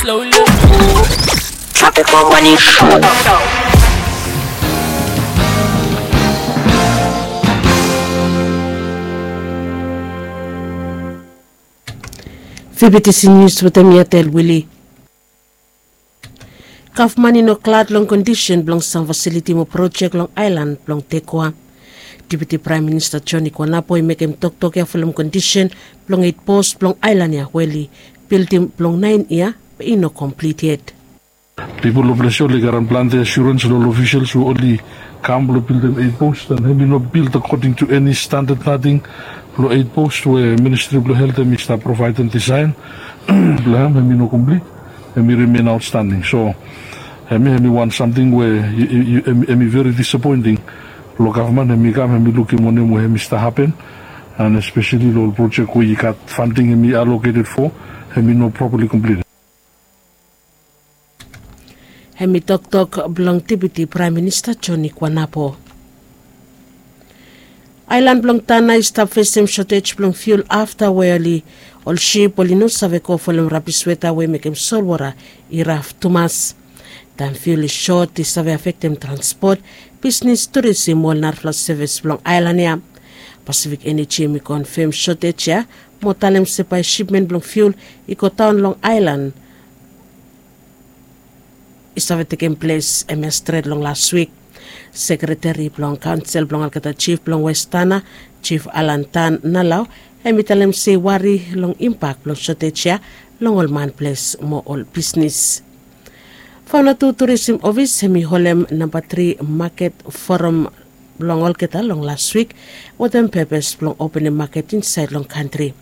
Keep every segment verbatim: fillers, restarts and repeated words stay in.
Tropical Morning Show. Fibitisi nius wetem mi Atel Wili. Gavman i no glad long kondisen blong sam fasiliti mo projek long aelan blong Tekua. Deputi Praem Minista Joni Kwanapo i mekem toktok ya folem kondisen blong eit pos blong aelan ya we oli bildim blong naen yia be i no komplit yet. Pipol long ples ya oli karem plante asurens long ol ofisels we oli kam blong bildim eit pos, an hem i no bild akoding tu eni standad nating blong eit pos we Ministri blong Helt hem i stap provaedem disaen blong hem, hem i no komplit, hem i rimen aotstanding. So hem i hem i wan samting we hem i veri disapoenting long gavman. Hem i kam hem i lukim wanem we hem i stap hapen, an espeseli long ol projek we i gat fanding hem i aloketed fo, hem i no propali komplit. Hem i toktok blong Deputi Praem Minista Joni Kwanapo. Aelan blong Tana i stap fesem sotej blong fiul afta we oli ol sip oli no save go folem rabis weta we mekem solwota i raf tumas. Taem fiul i sot i save afektem transpot, bisnis, turisim mo ol narafala sevis blong aelan ya. Pasifik Eneji hem i konfem sotej ya mo talem se bae sipmen blong fiul i godaon long aelan i save tekem ples hemia stret long las wik. Sekreteri blong kaonsel blong olgeta jif blong West Tana, Jif Alan Tan Nalau, hem i talem se i wari long impak blong sotej ya long ol man ples mo ol bisnis. Vanuatu Turisim Ofis hem i holem namba tri maket foram blong olgeta long las wik wetem pepes blong openem maket insaed long kantri.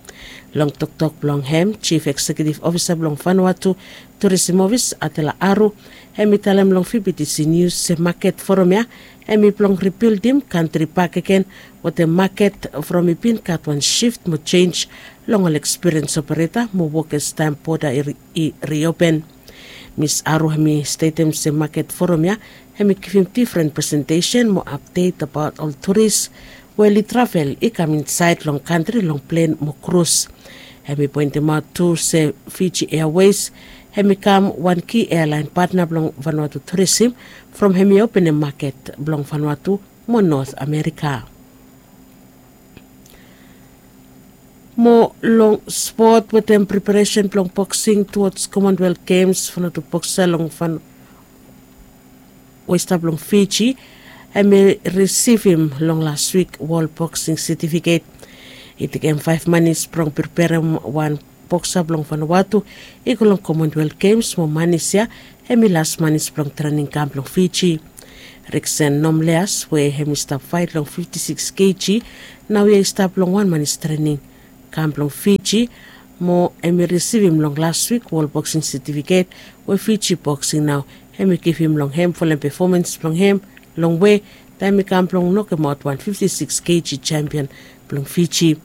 Long toktok blong hem, Jif Eksekiutiv Ofisa blong Vanuatu Turisim Ofis, Atela Aru, hem i talem long Fibitisi Nius se maket foram ya hem i blong ribildim kantri bakegen wetem maket from i bin gat wan sif mo jenj long ol ekspiriens opereta mo wokes taem boda i riopen. Mis Aru hem i stetem se maket foram ya hem i givim difren presentesen mo apdet abaot ol turis we oli travel i kam insaed long kantri long plen mo krus. Hem i poentemaot tu se Fiji Airways hem i kam wan ki aelaen patna blong Vanuatu turisim from hem i openem maket blong Vanuatu mo Not Amerika. Mo long spot wetem preparesen blong boksing tuods Commonwealth Games, Vanuatu boksa long Van we i stap long Fiji hem i risivim long las wik wol boksing setifiket. I tekem faef manis blong preperem wan boksa blong Vanuatu i go long Commonwealth Games mo manis ya hem i las manis blong trening kam blong Fiji. Riksen Nomleas we hem i stap faet long fifti siks keji naoia i stap long wan manis trening kam blong Fiji mo hem i risivim long las wik wol boksing setifiket we Fiji boksing nao hem i givim long hem folem pefomans blong hem long we taem i kam blong nokemaot wan fifti siks keji sempian blong Fiji.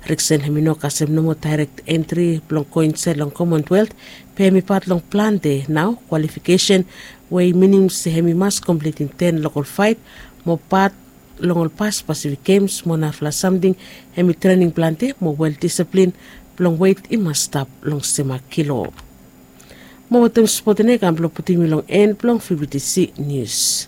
Riksen hem i no kasem nomo daerek entri blong go insaed long Commonwealth, be hem i pat long plante nao kwalifikesen we i minim se hem i mas komplitim ten lokol faet mo pat long ol pas Pasifik Gems mo narafala samting hem i trening plante mo wel disaplin blong wet i mas stap long sema kilo. Mo wetem spot ya i kam blong putum yu long en blong Fibitisi Nius.